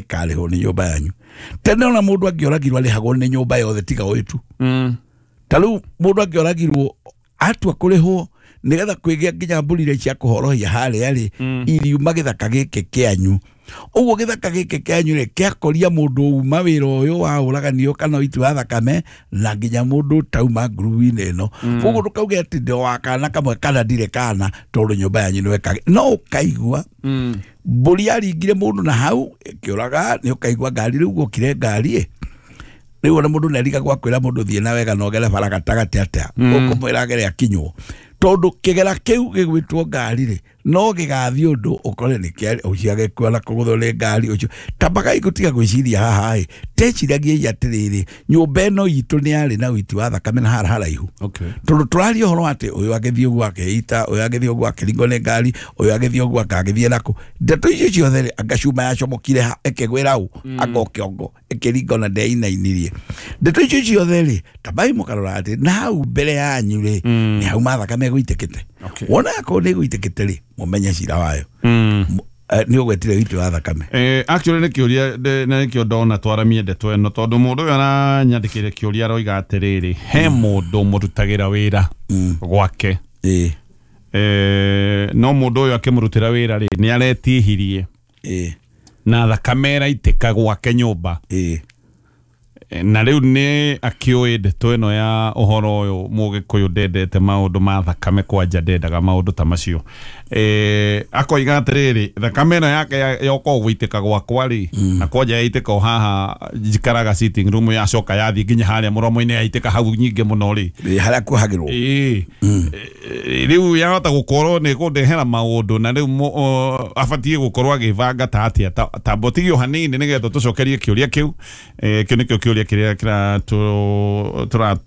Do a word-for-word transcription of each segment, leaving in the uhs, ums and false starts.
Ĩkarĩhwo nĩ nyũmba yanyu. Tene ona mũndũ angĩoragirwo arĩhagwo nĩ nyũmba yothe tiga ũyũ tu. Mm. Ta rĩu mũndũ angĩoragirwo atua kũrĩhwo nĩgetha kwĩgĩa nginya mbũri iria cia kũhorohia harĩa rĩ, iriuma gĩthaka gĩkĩ kĩanyu. Ũguo gĩthaka gĩkĩ kĩanyu rĩ, kĩakoria mũndũ uma wĩra ũyũ wa ũragani kana ũiti wa thakame na nginya mũndũ ũtauma ngurubu-inĩ ĩno. Koguo ndũkauge atĩ ndĩ wa kana kamwe kana ndirĩ kana tondũ nyũmba yanyu nĩwe kage. No ũkaigua mbũri yaringire mũndũ na hau ĩkĩũraga, nĩ ũkaigua ngari rĩu gũkire ngari ĩ. Rĩu ona mũndũ nĩarigagwo akwĩra mũndũ thiĩ na wega na ũgere bara gatagatĩ atĩa, ũkũmwĩra agere akinywo. Tondũ kĩgera kĩu gĩgwĩtwo ngari rĩ, no gĩgathiĩ ũndũ ũkore nĩ kĩa ũcio agĩkua na kũgũthwo nĩ ngari ũcio. Tambagai gũtiga gwĩciria haha ĩ, teciragiei atĩrĩrĩ, nyũmba ĩno itũ nĩ yarĩ na ũiti wa thakame na hara haraihu. Okay. Tondũ tũraria ũhoro wa atĩ ũyũ agĩthiĩ ũguo akeita, ũyũ agĩthiĩ ũguo akĩringwo nĩ ngari, ũyũ agĩthiĩ ũguo akagĩthiĩ nakũ. Ndeto icio ciothe rĩ, anga cuma yacomokire ha, ĩkĩgwĩra ũ, anga kĩongo, ĩkĩringwo na ndeinainirie. Ndeto icio ciothe rĩ, tambai mũkarora atĩ na hau mbere yanyu rĩ, nĩ hau mathakame gũitĩkĩte. Okay. Wona akorwo nĩ gũitĩkĩte rĩ, mũmenye cira wayo. Mm. Nĩ ũgwetire ũiti wa thakame. Eh, actually nĩ kĩũria na nĩkĩo ndona twaramie ndeto ĩno tondũ mũndũ ũyũ aranyandĩkĩire kĩũria aroiga atĩrĩrĩ, he mũndũ mũrutagĩra wĩra gwake. Ĩĩ. Eh, no mũndũ ũyũ akĩmũrutĩra wĩra rĩ, nĩ aretihirie. Ĩĩ. Na thakame ĩraitĩka gwake nyũmba. Ĩĩ. Na rĩu nĩ akĩũĩ ndeto ĩno ya ũhoro ũyũ mũgĩkũyũ ndendete maũndũ ma thakame kwanja ndendaga maũndũ ta macio. Eh, akoiga atĩrĩrĩ, thakame ĩno yake yoka gũitĩka gwakwa rĩ, na kwanja yaitĩka o haha njikaraga sitting room yacoka yathiĩ nginya harĩa mũromo-inĩ yaitĩka hau nyingĩ mũno rĩ. Ĩĩ, harĩa kuohagĩrwo. Ĩĩ. Rĩu yahota gũkorwo nĩ kũndehera maũndũ na rĩu abatiĩ gũkorwo agĩbanga ta atĩa, ta mbotigio hanini nĩgetha tũcokerie kĩũria kĩu. Kĩu nĩkĩo kĩũria kĩrĩa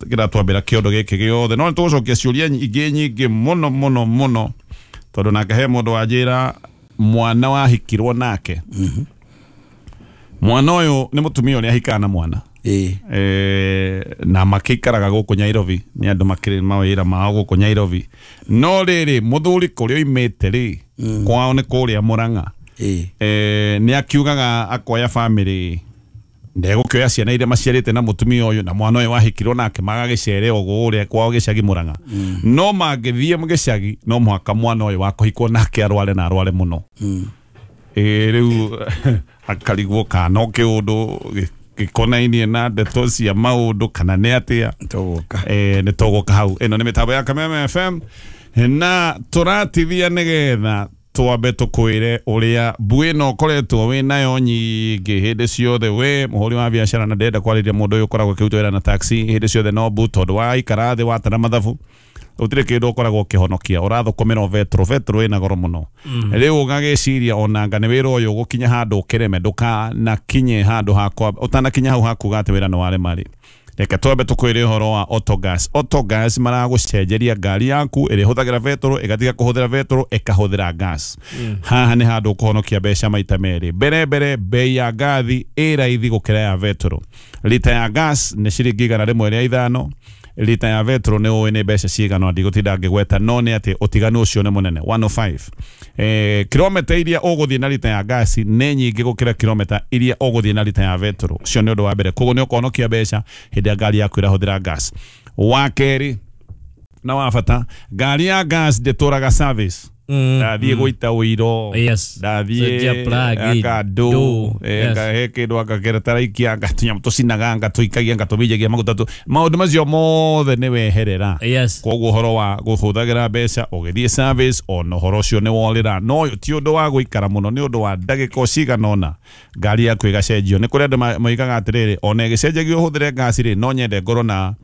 kĩratwambĩra kĩondo gĩkĩ gĩothe. No nĩtũgũcokia ciũria ingĩ nyingĩ mũno mũno mũno tondũ nake he mũndũ wanjĩra mwana wahikirwo nake. Mwana ũyũ nĩ mũtumia ũrĩa ahikaga na mwana. Ĩĩ. Eh, na makĩikaraga gũkũ Nairobi, nĩ andũ makĩrĩ mawĩra mao gũkũ Nairobi. No rĩrĩ mũthuri kũrĩa oimĩte rĩ, kwao nĩ kũrĩa Mũrang'a. Ĩĩ. Eh, nĩ akiugaga akoya family ndegũkĩoya ciana iria maciarĩte na mũtumia ũyũ na mwana ũyũ wahikirwo nake magagĩcere o kũrĩa kwao gĩcagi Mũrang'a. No mangĩthiĩ gĩcagi no mũhaka mwana ũyũ wa kũhikwo nake arware na arware mũno. Ĩĩ, rĩu akarigwo kana no kĩũndũ gĩkonainie na ndeto cia maũndũ kana nĩ atĩa. Tũgũka. Eh, nĩ tũgũka hau. Ĩno nĩ mĩtambo ya Kameme F M na tũratithia nĩgetha twambe tũkwĩre ũrĩa mbuĩ ĩno ũkoretwo wĩ nayo nyingĩ hĩndĩ ciothe. We mũhũri wa biacara na ndĩrenda kwarĩria mũndũ ũyũ ũkoragwo akĩruta wĩra na taxi hĩndĩ ciothe no mbu tondũ waikara thĩ watara mathabu gũtirĩ kĩndũ ũkoragwo ũkĩhonokia, ũrathũkũmĩra o betũrũ, betũrũ ĩna goro mũno. Rĩu ũgagĩciria onanga nĩ wĩra ũyũ ũgũkinya handũ ũkĩreme, ndũkanakinye handũ hakwa, ũtanakinya hau hakuga atĩ wĩra nĩ warema rĩ. Reke twambe tũkwĩre ũhoro wa Autogas. Autogas maragũcenjeria ngari yaku ĩrĩa ĩhũthagĩra betũrũ ĩgatiga kũhũthĩra betũrũ ĩkahũthĩra gas. Haha nĩ handũ ũkũhonokia mbeca maita merĩ. Mbere mbere bei ya ngathi ĩ raithi gũkĩra ya betũrũ. Lita ya gas nĩ ciringi igana rĩmwe rĩa ithano, lita ya betũrũ nĩ ũĩ nĩ mbeca cigana, ndigũtinda ngĩgweta, no nĩ atĩ ũtiganu ũcio nĩ mũnene one oh five. Eh, kilomita iria ũgũthiĩ na lita ya gasi nĩ nyingĩ gũkĩra kilomita iria ũgũthiĩ na lita ya betũrũ. Ũcio nĩ ũndũ wa mbere. Koguo nĩ ũkũhonokia mbeca hĩndĩ ĩrĩa ngari yaku ĩrahũthĩra gas. Wa kerĩ na wa bata, ngari ya gas ndĩtũraga service. Ndathiĩ gũita ũiro, ndathiĩ akandũ, he kĩndũ akakera taraikia, tũnyamũ tũcinaga, ngatũikagia, ngatũminjagia maguta tũ, maũndũ macio mothe nĩ weherera. Koguo ũhoro wa kũhũthagĩra mbeca ũgĩthiĩ service ona ũhoro ũcio nĩ worĩra. No ũyũ ti ũndũ wa gũikara mũno, nĩ ũndũ wa ndagĩka o cigana ũna ngari yaku ĩgacenjio. Nĩ kũrĩ andũ moigaga atĩrĩrĩ, ona ĩgĩcenjagio ũhũthĩre ngasi rĩ, no nyende ngorwo na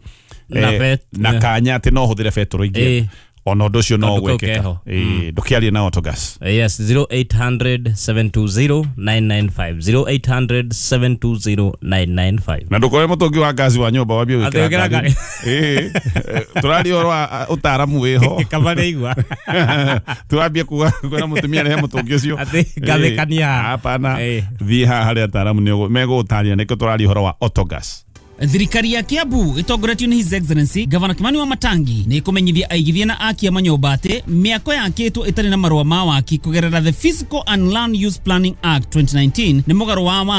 na kanya atĩ no hũthĩre betũrũ ingĩ. Ona ũndũ ũcio no gwĩkĩka. Ĩĩ, ndũkĩarie na Autogas. Yes, zero eight hundred seven two zero nine nine five, zero eight hundred seven two zero nine nine five. Na ndũkoe mũtũngi wa ngasi wa nyũmba wambie gwĩkĩra ngari. Ĩĩ, tũraria ũhoro wa ũtaaramu wĩho. Kaba nĩigua. Tũrambie kuga kwĩra mũtumia rehe mũtũngi ũcio. Atĩ ngathĩkania. Hapana. Thiĩ haha harĩa ataaramu nĩ megũgũtarĩria nĩkĩo tũraria ũhoro wa Autogas. Thirikari ya Kiambu ĩtongoretio nĩ His Excellency Gavana Kimani Wamatangi nĩ ĩkũmenyithia aigithia na akia manyũmba atĩ mĩako yakĩtwo ĩtarĩ na marũa ma waki kũgerera the Physical and Land Use Planning Act twenty nineteen nĩ mũgarũ wa watho.